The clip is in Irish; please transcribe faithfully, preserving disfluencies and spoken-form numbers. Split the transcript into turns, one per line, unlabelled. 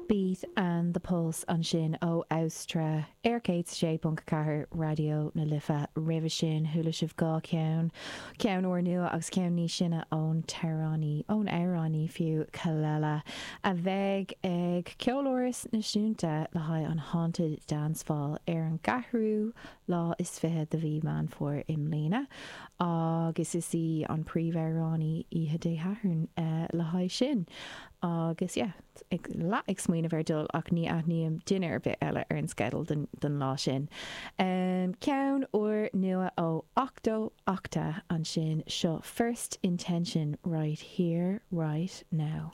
Beat and the Pulse ansin ó Austra ar céad sé ponc ceathair Raidió na Life roimhe sin chuala sibh dhá cheann, ceann úrnua agus ceann níos sine ón t-amhránaí, ón amhránaí fiú, Kelela, a bheidh ag Ceoláras Náisiúnta le haghaidh an Haunted Dance Ball ar an gceathrú lá is fiche de mhí Meán Fómhair i mbliana agus is í an príomhamhránaí oíche Dé Sathairn le haghaidh sin agus yeah. ag leath ag smaoineamh ar dul ach ní aithním duine ar bith eile ar an sceideal don, don lá sin. Um, ceann úr nua ó Octo Octa ansin seo First Intention right here, right now.